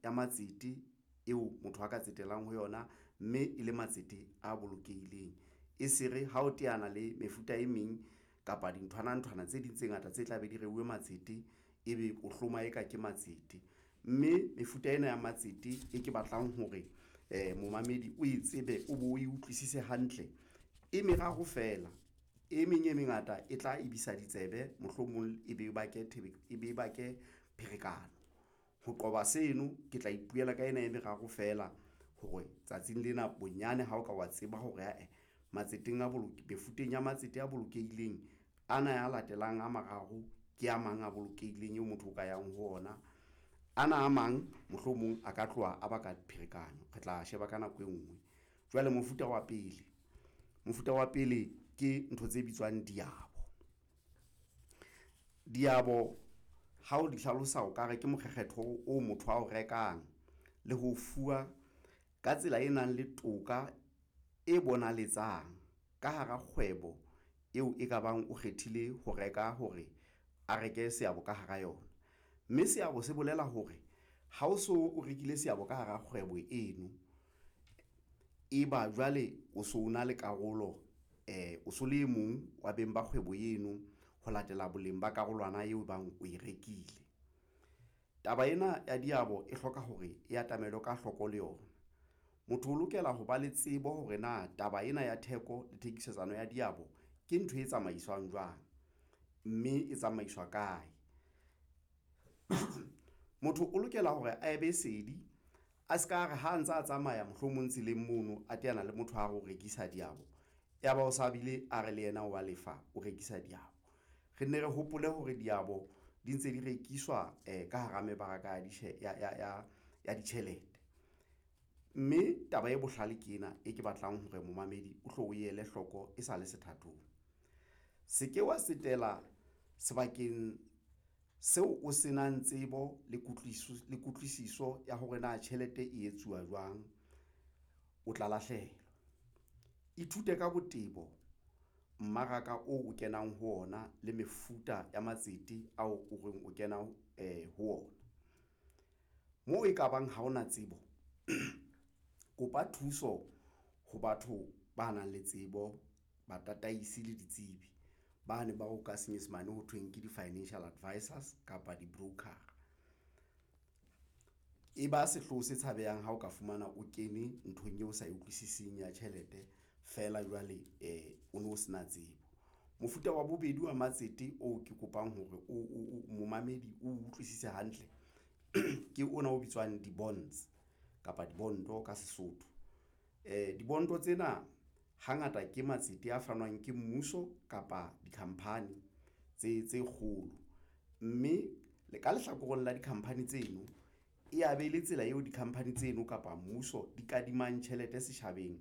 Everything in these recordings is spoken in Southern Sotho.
Ya matsete eo motho a ka tsetelang ho yona, mme e le matsete a bolokehileng. E se re ha o teana le mefuta e meng kapa dinthwana nthwana tse ding tse ngata tse tla be di reuwe matsete, ebe o hloma eka ke matsete, mme mefuta ena ya matsete e ke batlang hore momamedi o e tsebe, o bo o e utlwisise hantle e meraro feela. E meng e mengata e tla ebisa ditsebe, mohlomong e be bake pherekano. Ho qoba seno, ke tla ipuela ka ena e meraro feela hore tsatsing lena bonyane ha o ka wa tseba hore ae matseteng a mefuteng ya matsete a bolokehileng ana a latelang a mararo ke a mang a bolokehileng eo motho o ka yang ho ona. Ana a mang mohlomong a ka tloha a baka pherekano, re tla sheba ka nako e nngwe. Jwale mofuta wa pele, mofuta wa pele ke ntho tse bitswang diabo. Diabo ha o di hlalosa, o ka re ke mokgekgetho oo motho ao rekang le ho fuwa ka tsela e nang le toka e bonaletsang ka hara kgwebo eo e kabang o kgethile ho reka hore a reke seabo ka hara yona, mme seabo se bolela hore ha o so o rekile seabo ka hara kgwebo eno, eba jwale o so na le karolo, o so le e mong wa beng ba kgwebo eno ho latela boleng ba karolwana eo e bang o e rekile. Taba ena ya diabo e hloka hore e atamele ka hloko le yona. Motho o lokela ho ba le tsebo hore na taba ena ya theko le thekisetsano ya diabo ke ntho e tsamaiswang jwang, mme e tsamaiswa kae. Motho o lokela hore a be sedi a se ka re ha a ntsa a tsamaya mohlomong tseleng mono a teana le motho a re o rekisa diabo, ya ba o sa bile a re le yena wa lefa o rekisa diabo. Re nne re hopole hore diabo di ntse di rekiswa ka hara mebaraka ya ditjhelete, mme taba e bohlale ke ena e ke batlang hore momamedi o hlo o ele hloko e sale sethathong. Se ke wa tsetela sebakeng seo o se nang tsebo le kutlwisiso ya hore na tjhelete e etsuwa jwang, o tla lahlehelwa. Ithute ka botebo mmaraka oo o kenang ho ona le mefuta ya matsete ao o reng o kena ho ona. Moo ekabang ha hona tsebo, kopa thuso ho batho ba nang le tsebo, batataisi le ditsebi bane bao ka Senyesemane ho thweng ke di-financial advisors kapa di-broker-a. E ba sehloho se tshabehang ha o ka fumana o kene nthong eo o sa e utlwisising ya tjhelete feela jwale o no se na tsebo. Mofuta wa bobedi wa matsete oo ke kopang hore o momamedi o utlwisise hantle ke ona o bitswang di-bonds kapa dibonto ka Sesotho. Dibonto tsena hangata ke matsete a fanwang ke mmuso kapa dikhampani tse kgolo, mme le ka lehlakoreng la dikhampani tseno e ya be le tsela eo dikhampani tseno kapa mmuso di kadimang tjhelete setjhabeng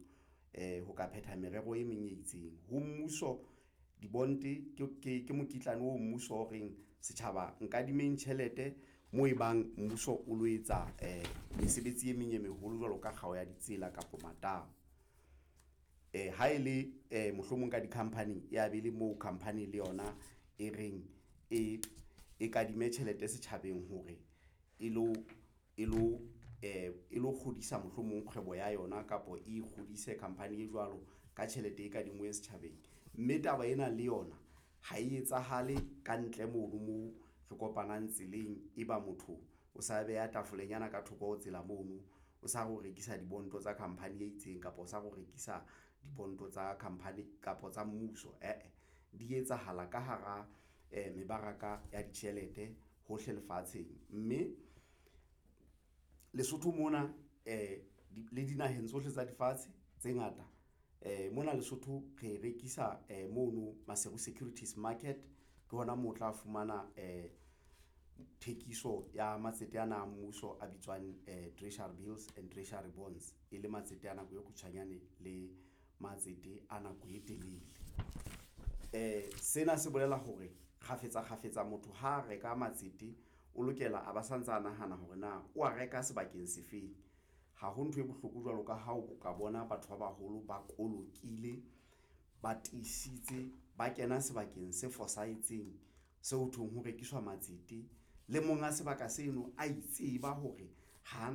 ho ka phetha merero e meng e itseng ho mmuso. Di-bond ke mokitlane oo mmuso o reng setjhaba nkadimeng tjhelete moo e bang mmuso o lo etsa mesebetsi e meng e meholo jwalo ka kgao ya ditsela kapa matamo. Ha e le mohlomong ka di-company ya be le moo khampani le yona e reng e kadimme tjhelete setjhabeng hore e lo e lo kgodisa mohlomong kgwebo ya yona kapa e kgodise khampani e jwalo ka tjhelete e kadinngwe setjhabeng, mme taba ena le yona ha e etsahale kantle mono moo re kopanang tseleng. Eba motho o sa beha tafolenyana ka thoko ho tsela mono, o sa re o rekisa dibonto tsa khampani e itseng kapa o sa re o rekisa dibonto tsa khampani kapa tsa mmuso ee, di etsahala ka hara mebaraka ya ditjhelete hohle lefatsheng, mme Lesotho mona le dinaheng tsohle tsa lefatshe tse ngata mona Lesotho re rekisa mono Maseru Securities Market ke hona moo o tla fumana thekiso ya matsete ana a mmuso a bitswang Treasury Bills and Treasury Bonds e le matsete a nako e kgutshwanyane le matsete a nako e telele. Sena se bolela hore kgafetsa kgafetsa motho ha a reka matsete, o lokela a ba santsa a nahana hore na o a reka sebakeng se feng. Ha ho ntho e bohloko jwalo ka ha o ka bona batho ba baholo ba kolokile, ba tiisitse, ba kena sebakeng se fosahetseng seo ho thweng ho rekiswa matsete le monga sebaka seno a itseba hore. Ha ana.